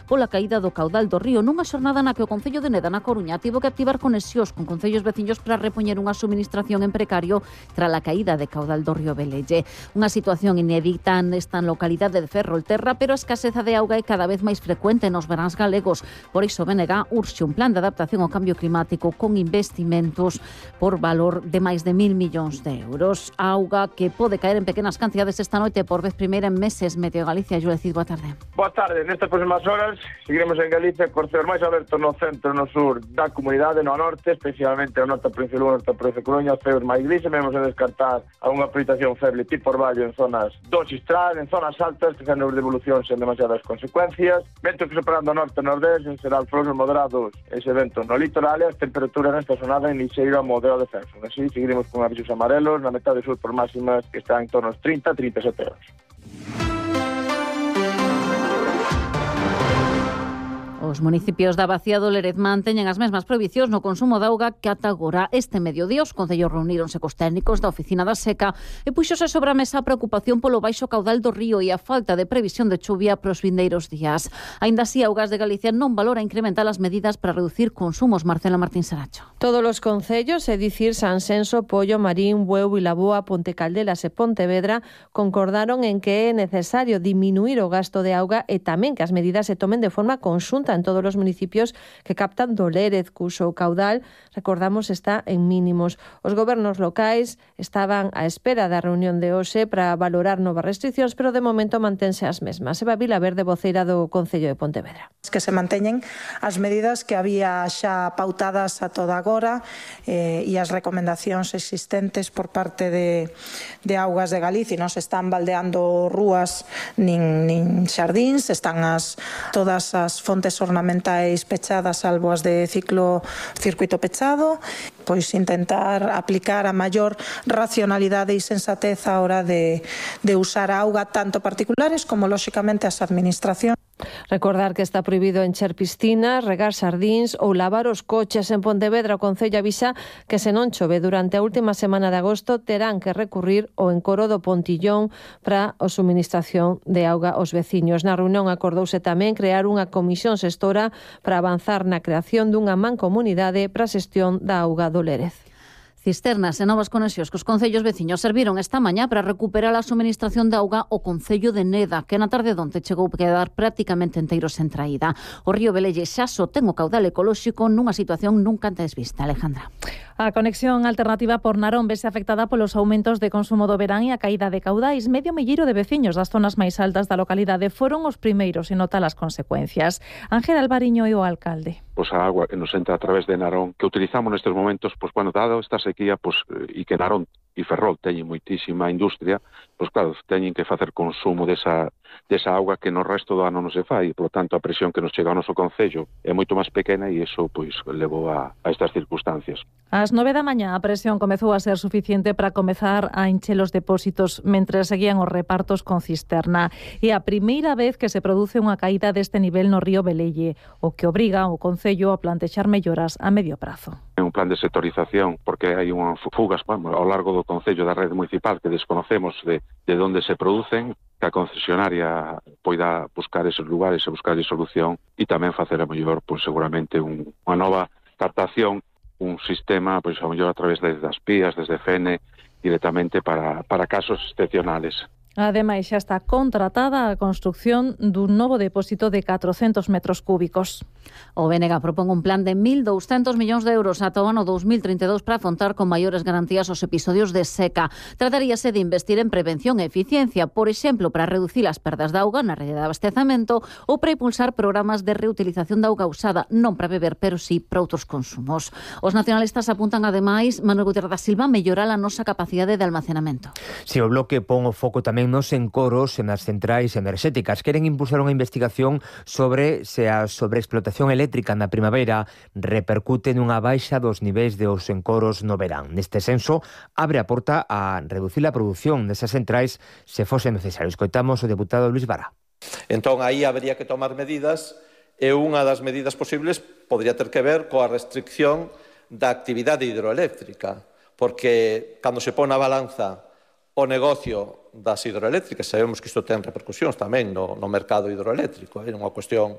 pola caída do caudal do río, nunha xornada na que o Concello de Neda, na Coruña, tivo que activar conexións con concellos veciños para repoñer unha suministración en precario tras a caída de caudal do río Velelle. Unha situación inédita nesta localidade de Ferrolterra, pero a escaseza de auga é cada vez máis frecuente nos veráns galegos. Por iso, BNG urxe un plan de adaptación ao cambio climático con investimentos por valor de máis de 1.000 millóns de euros. A auga que pode caer en pequenas cantidades esta noite por vez primeira en meses. Meteo Galicia, Xulia Cid, boa tarde. Boa tarde. Nestas próximas horas seguiremos en Galicia cos ceos máis abertos no centro e no sur da comunidade, no norte, especialmente no norte da provincia de Lugo, no norte da provincia de Coruña, ceos máis grises. Vemos a descartar a unha precipitación feble tipo orvallo en zonas do Xistral, en zonas altas, que fan de evolución sen demasiadas consecuencias. Ventos que separando norte e nordeste, en xeral flores moderados, ese vento no litoral, e as temperaturas nesta zonada en lixeiro a moderado descenso. Así seguiremos con avisos amarelos na metade sur por máximas que están en torno aos 30-37 euros. Os municipios da Bacía do Lerezmán teñen as mesmas prohibicións no consumo de auga que ata agora. Este mediodía os concellos reuníronse cos técnicos da Oficina da Seca e puxose sobre a mesa a preocupación polo baixo caudal do río e a falta de previsión de chuvia para os vindeiros días. Aínda así, Augas de Galicia non valora incrementar as medidas para reducir consumos. Marcela Martín Saracho. Todos os concellos, é dicir, Sanxenxo, Pollo, Marín, Bueu, Vilaboa, Ponte Caldelas e Pontevedra, concordaron en que é necesario diminuir o gasto de auga e tamén que as medidas se tomen de forma conxunta en todos os municipios que captan do Lérez, cuxo caudal, recordamos, está en mínimos. Os gobernos locais estaban á espera da reunión de hoxe para valorar novas restriccións, pero de momento mantense as mesmas. Eva Vilaverde, voceira do Concello de Pontevedra. Que se manteñen as medidas que había xa pautadas a toda agora e as recomendacións existentes por parte de Augas de Galicia. Non se están baldeando rúas nin xardíns, están todas as fontes ornamentais pechadas, salvo as de circuito pechado, pois intentar aplicar a maior racionalidade e sensatez a hora de usar a auga tanto particulares como, lóxicamente, as administracións. Recordar que está prohibido encher piscinas, regar xardíns ou lavar os coches. En Pontevedra, o Concello avisa que se non chove durante a última semana de agosto terán que recurrir ao encoro do Pontillón para a suministración de auga aos veciños. Na reunión acordouse tamén crear unha comisión xestora para avanzar na creación dunha mancomunidade para a xestión da auga do Lérez. Cisternas e novas conexións que os concellos veciños serviron esta mañá para recuperar a suministración de auga ao Concello de Neda, que na tarde donte chegou a quedar prácticamente enteiro sen traída. O río Velelle xa só ten o caudal ecolóxico nunha situación nunca antes vista. Alejandra. A conexión alternativa por Narón vese afectada polos aumentos de consumo do verán e a caída de caudais. Medio milleiro de veciños das zonas máis altas da localidade foron os primeiros en notar as consecuencias. Ángel Alvariño é o alcalde. Pois a agua que nos entra a través de Narón, que utilizamos nestes momentos, pois cando dado esta sequía, pois e que Narón e Ferrol teñen moitísima industria, pois claro, teñen que facer consumo desa auga que no resto do ano non se fai, e, polo tanto, a presión que nos chega ao noso concello é moito máis pequena e iso pois levou a estas circunstancias. Ás 9 da mañá a presión comezou a ser suficiente para comezar a encher os depósitos mentres seguían os repartos con cisterna. É a primeira vez que se produce unha caída deste nivel no río Velelle, o que obriga o Concello a plantexar melloras a medio prazo. É un plan de sectorización, porque hai unhas fugas ao largo do Concello da rede municipal que desconocemos de onde se producen, que a concesionaria poida buscar eses lugares e buscar solución e tamén facer a mellor, pois seguramente unha nova captación, un sistema, pois a mellor a través das pías, desde FENE, directamente para casos excepcionales. Ademais, xa está contratada a construción dun novo depósito de 400 metros cúbicos. O BNG propón un plan de 1.200 millóns de euros ata o ano 2032 para afrontar con maiores garantías os episodios de seca. Trataríase de investir en prevención e eficiencia, por exemplo, para reducir as perdas de auga na rede de abastecamento ou para impulsar programas de reutilización da auga usada, non para beber, pero sí para outros consumos. Os nacionalistas apuntan, ademais, Manuel Gutiérrez da Silva, mellorar a nosa capacidade de almacenamento. Si o Bloque pon o foco tamén nos encoros e nas centrais enerxéticas. Queren impulsar unha investigación sobre se a sobreexplotación eléctrica na primavera repercute nunha baixa dos niveis dos encoros no verán. Neste senso, abre a porta a reducir a produción desas centrais se fose necesario. Escoitamos o deputado Luis Vara. Entón, aí habería que tomar medidas e unha das medidas posibles podría ter que ver coa restricción da actividade hidroeléctrica, porque cando se pon na balanza o negocio das hidroeléctricas, sabemos que isto ten repercusións tamén no mercado hidroeléctrico, é unha cuestión